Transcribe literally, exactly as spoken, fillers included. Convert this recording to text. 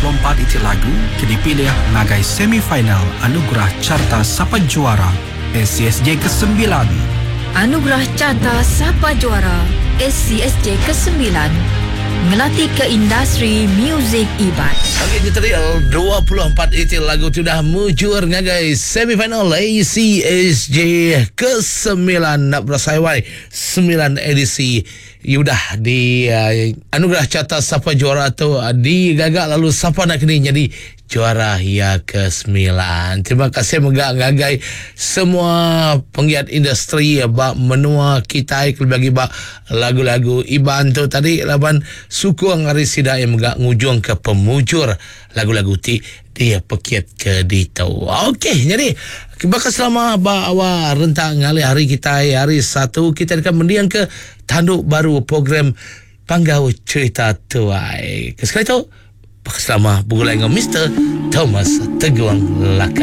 puluh empat iti lagu ke dipilih ngagai semifinal Anugerah Carta Sapa Juara A C S J kesembilan. Anugerah Carta Sapa Juara A C S J kesembilan ngelati ke industri muzik Iban. Okey, kita tadi dua puluh empat iti lagu sudah mujur ngagai semifinal A C S J kesembilan. Nak berasai wai sembilan edisi udah di uh, Anugerah Carta Sapa Juara tu uh, digagak lalu siapa nak kini jadi juara ya kesembilan. Terima kasih megak ngagai semua penggiat industri bak menua kita bagi bak lagu-lagu Iban tu tadi laban suku ngari sida yang megak ngujung ke pemujur lagu-lagu ti dia pekit ke dito. Okey, jadi bakal selama ba awal rentang ngalih hari kita hari satu kita akan mendiang ke tanduk baru program Panggau Cerita Tuai. Sekali tu selama bergulai dengan Mister Thomas Teguang Laka.